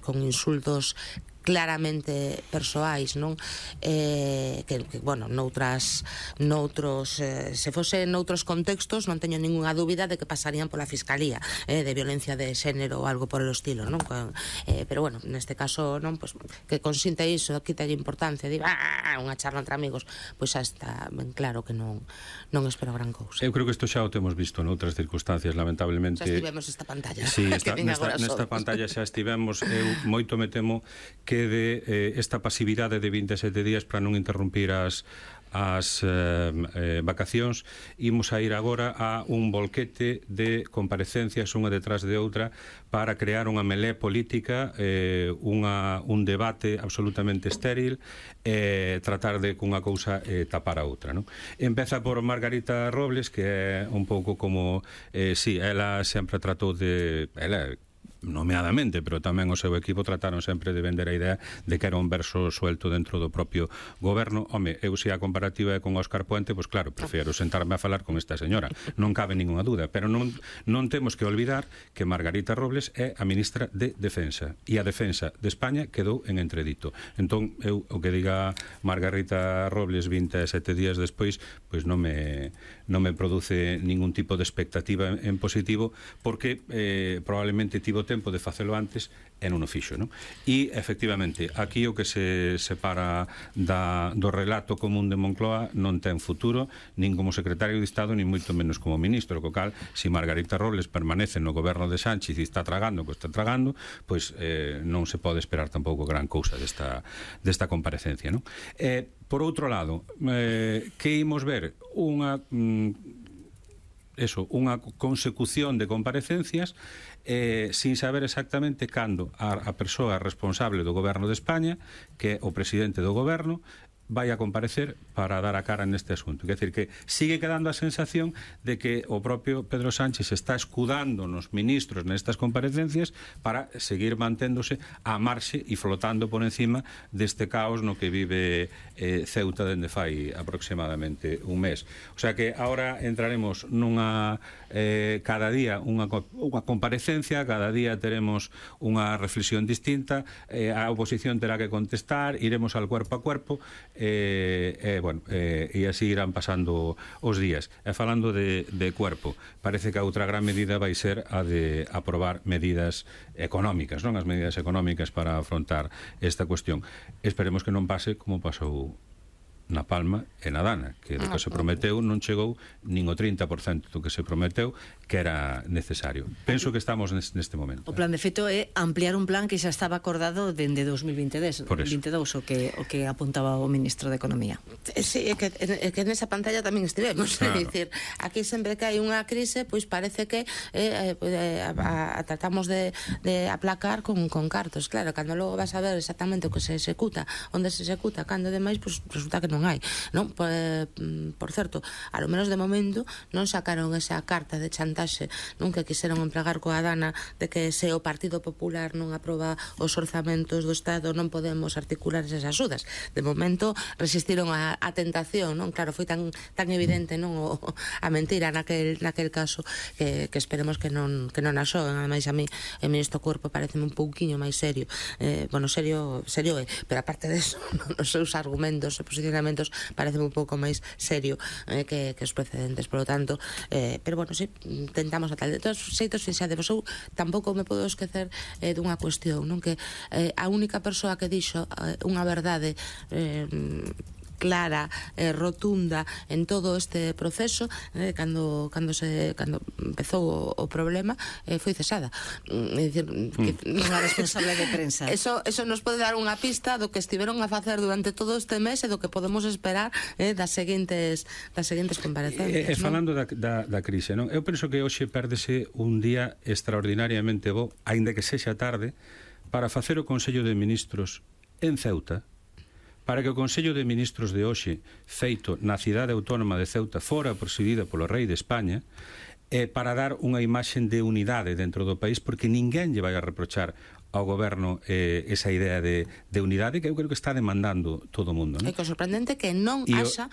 con insultos claramente persoais, non? Bueno, noutros se fose noutros contextos non teño ninguna dúbida de que pasarían pola Fiscalía de violencia de xénero ou algo por el estilo, non? Pero bueno, neste caso, non, pues, que consinte iso, quitalle importancia, di, unha charla entre amigos, pois xa está ben claro que non espero gran cousa. Eu creo que isto xa o temos visto noutras circunstancias, lamentablemente. Xa estivemos esta pantalla. Sí, nesta pantalla xa estivemos. Eu moito me temo que de esta pasividade de 27 días para non interrumpir as vacacións, imos a ir agora a un volquete de comparecencias unha detrás de outra para crear unha melé política, un debate absolutamente estéril, tratar de cunha cousa tapar a outra, non? Empeza por Margarita Robles, que é un pouco como ela sempre tratou de nomeadamente, pero tamén o seu equipo trataron sempre de vender a idea de que era un verso suelto dentro do propio goberno. Home, eu se a comparativa é con Óscar Puente, pois claro, prefiro sentarme a falar con esta señora, non cabe ninguna dúda, pero non temos que olvidar que Margarita Robles é a ministra de Defensa, e a defensa de España quedou en entredito. Entón, eu o que diga Margarita Robles 27 días despois, pois non me produce ningún tipo de expectativa en positivo, porque probablemente tivo tempo de facelo antes e non o fixo, non? E, efectivamente, aquí o que se separa do relato común de Moncloa non ten futuro, nin como secretario de Estado, nin moito menos como ministro, co cal, se Margarita Robles permanece no goberno de Sánchez e está tragando o que está tragando, pois non se pode esperar tampouco gran cousa desta comparecencia, non? Por outro lado, que imos ver? Unha consecución de comparecencias sin saber exactamente cando a persoa responsable do goberno de España, que é o presidente do goberno, vai a comparecer para dar a cara neste asunto. Quer dizer que sigue quedando a sensación de que o propio Pedro Sánchez está escudando nos ministros nestas comparecencias para seguir manténdose a marxe e flotando por encima deste caos no que vive Ceuta dende fai aproximadamente un mes. O sea que ahora entraremos nunha cada día unha comparecencia, cada día teremos unha reflexión distinta, a oposición terá que contestar, iremos al cuerpo a cuerpo, e así irán pasando os días. E falando de cuerpo, parece que a outra gran medida vai ser a de aprobar medidas económicas, non? As medidas económicas para afrontar esta cuestión. Esperemos que non pase como pasou na Palma e na Dana, que do que se prometeu non chegou nin o 30% do que se prometeu que era necesario. Penso que estamos neste momento. O plan de feito é ampliar un plan que xa estaba acordado dende 2022, o que apuntaba o ministro de Economía. Sí, é que nesa pantalla tamén estivemos, claro. É dicir, aquí sempre que hai unha crise, pois parece que tratamos de aplacar con cartos. Claro, cando logo vas a ver exactamente o que se executa, onde se executa, cando demais, pois resulta que non hai, non? Por certo, a lo menos de momento non sacaron esa carta de chantaxe, non, que quixeron empregar coa Dana, de que se o Partido Popular non aproba os orzamentos do Estado non podemos articular esas axudas. De momento resistiron a tentación, non? Claro, foi tan evidente, non, a mentira naquel caso, que esperemos que non a xoen. Ademais, a mí o ministro Cuerpo pareceme un pouquiño máis serio, serio é, pero aparte deso, os seus argumentos e posicionamentos parece un pouco máis serio que os precedentes, por lo tanto, pero bueno, sí, tentamos a tal. De todos xeitos, fixade, eu tampouco me podo esquecer dunha cuestión, non? Que a única persoa que dixo unha verdade clara, rotunda en todo este proceso, cando empezou o problema, foi cesada. É dicir, unha responsable de prensa. Eso nos pode dar unha pista do que estiveron a facer durante todo este mes e do que podemos esperar das seguintes comparecencias. Falando da crise, non? Eu penso que hoxe pérdese un día extraordinariamente bo, aínda que sexa tarde, para facer o Consello de Ministros en Ceuta, para que o Consello de Ministros de hoxe, feito na cidade autónoma de Ceuta, fora presidida polo Rei de España, para dar unha imaxe de unidade dentro do país, porque ninguén lle vai a reprochar ao goberno esa idea de unidade que eu creo que está demandando todo o mundo, non? E que o sorprendente que non haxa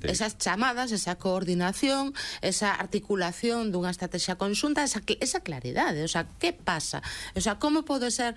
esas chamadas, esa coordinación, esa articulación dunha estrategia conxunta, esa claridade. O sea, que pasa? O sea, como pode ser